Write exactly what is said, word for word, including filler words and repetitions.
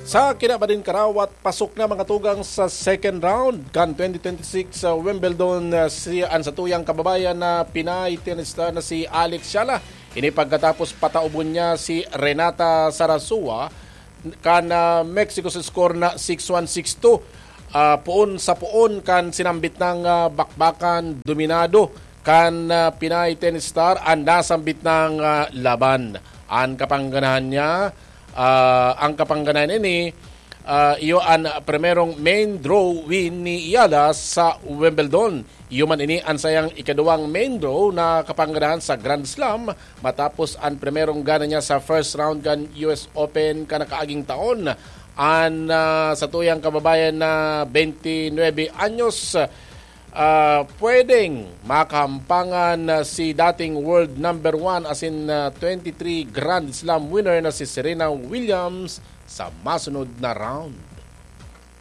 Sa kinabaning karawat, pasok na mga tugang sa second round kan twenty twenty-six sa Wimbledon, uh, si, ang satuyang kababayan na Pinay tennis star na si Alex Shala. Ini pagkatapos pataubon niya si Renata Sarasua kan, uh, Mexico sa score na six one, six two. Uh, poon sa poon kan sinambit ng, uh, bakbakan, dominado kan, uh, Pinay tennis star ang nasambit ng, uh, laban. Ang kapangganahan niya, uh, ang kapangganahan ini, uh, iyo ang primerong main draw win ni Yala sa Wimbledon. Iyo man ini ang sayang ikaduwang main draw na kapangganahan sa Grand Slam matapos ang primerong gana niya sa first round kan U S Open kan nakaaging taon. Ang, ah, satuyang kababayan na twenty-nine anyos, ah, pwedeng makahampangan na si dating world number one asin, ah, twenty-three Grand Slam winner na si Serena Williams sa masunod na round.